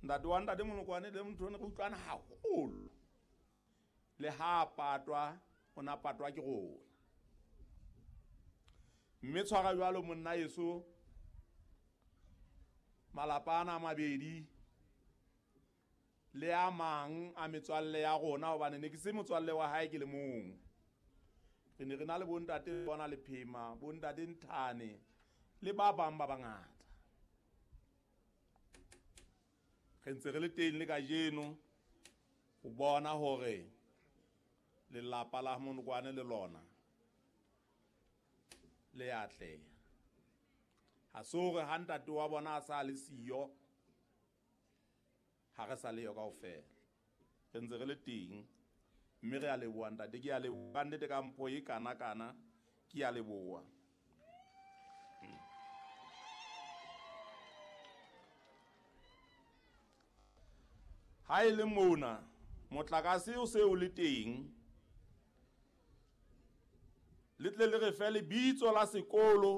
Ntate wa ntate Molokwane le motho ne re utlwana haholo. Le ha patwa, o na patwa ke rona. Mme tshwara jwalo monna yeso, malapa ana a mabedi le a mang a metswalle ya rona, hobane ne ke se motswalle wa hae ke le mong. Re ne re na le bontate bona Lephema, bontate Nthane le ba bang ba bangata. Re ntse re le teng le kajeno ho bona hore lelapa la Monokwane le lona le atleha. Ha se hore ha ntate wa bona a sa le siyo, ha re sa leyo kaofela. Re ntse re le teng, mme re a leboha ntate, ke a leboha ka nnete ka mpho e kana kana, ke a leboha. Ha e le mona motlakase o se o le teng, le tle le re fe lebitso la sekolo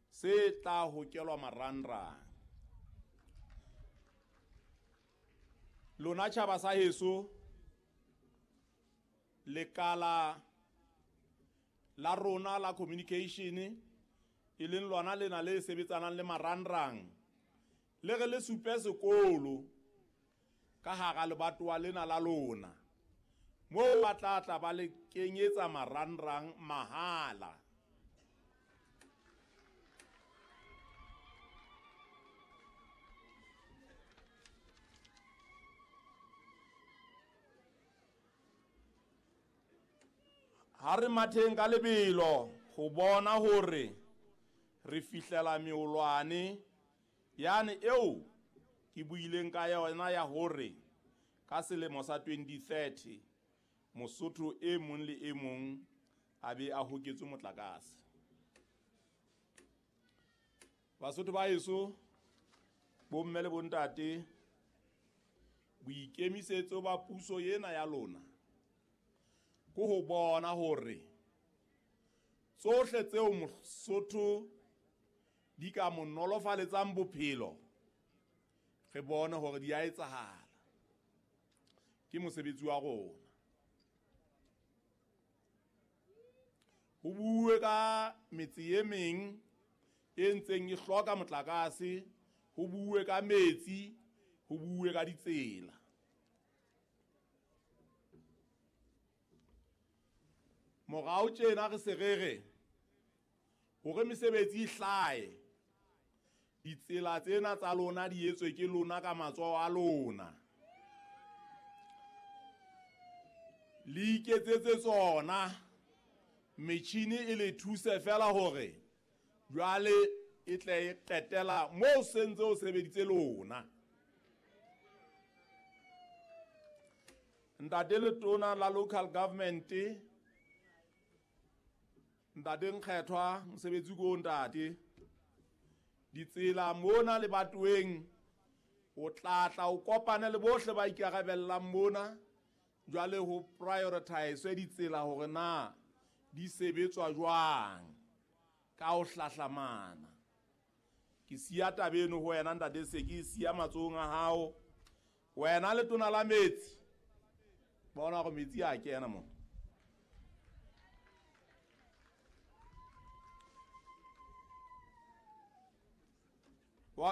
se tla hokelwa marangrang. Lona tjhaba sa heso, lekala la rona la communication, e leng lona lena le sebetsanang le marangrang, le re le supe sekolo ka hara lebatowa lena la lona, moo ba tla tla ba le kenyetsa marangrang mahala. Ha re matheng ka lebelo ho bona hore re fihlela meolwane yane eo ke buileng ka yona ya hore ka selemo sa 2030 Mosotho e mong le e mong a be a hoketswe motlakase. Basotho ba heso, bomme le bontate, boikemisetso ba puso ena ya lona ke ho bona hore tsohle tseo Mosotho di ka mo nolofaletsang bophelo, re bone hore di a etsahala. Ke mosebetsi wa rona. Ho bue ka metse e meng e ntseng e hloka motlakase, ho bue ka metsi, ho bue ka ditsela. Morao tjena re se re re hore mesebetsi e hlahe, ditsela tsena tsa lona di etswe ke lona ka matsoho a lona, le iketsetse tsona, metjhini e le thuse fela hore jwale e tle e qetela moo sentse o sebeditse lona. Ntate Letona la local government, ntate Nkgethwa, mosebetsi ko ntate, ditsela mona le batoeng, o tla tla o kopane le bohle ba ikarabellang mona, jwale ho prioritize ditsela hore na di sebetswa jwang ka ho hlahlamana. Ke siya taba eno ho wena ntate, se ke siya matsohong a hao. Wena Letona la metsi, bona hore metsi a kena mo.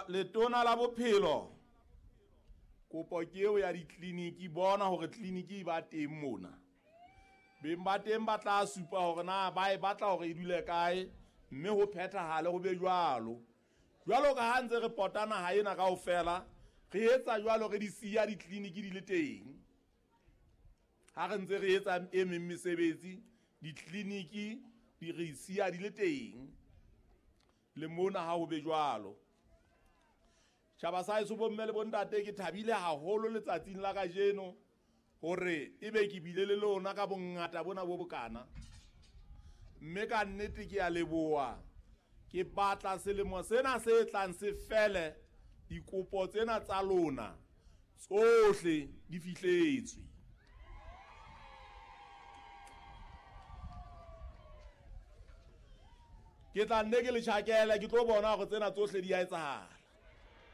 Letona la bophelo, kopo ke eo ya ditleliniki, bona hore tleliniki e ba teng mona. Beng ba teng ba tla supa hore na ba e batla hore e dule kae, mme ho phethahale ho be jwalo. Jwalo ka ha ntse re pota naha ena kaofela, re etsa jwalo, re di siya ditleliniki di le teng. Ha re ntse re etsa e meng mesebetsi, ditleliniki di re siya di le teng. Le mona ha ho be jwalo. Tjhaba sa heso, bomme le bontate, ke thabile haholo letsatsing la kajeno hore ebe ke bile le lona ka bongata bona bo bokana. Mme ka nnete ke a leboha. Ke batla selemo sena se tlang se fele, dikopo tsena tsa lona tsohle di fihletswe. Ke tla nne ke le tjhakele, ke tlo bona hore tsena tsohle di a etsahala.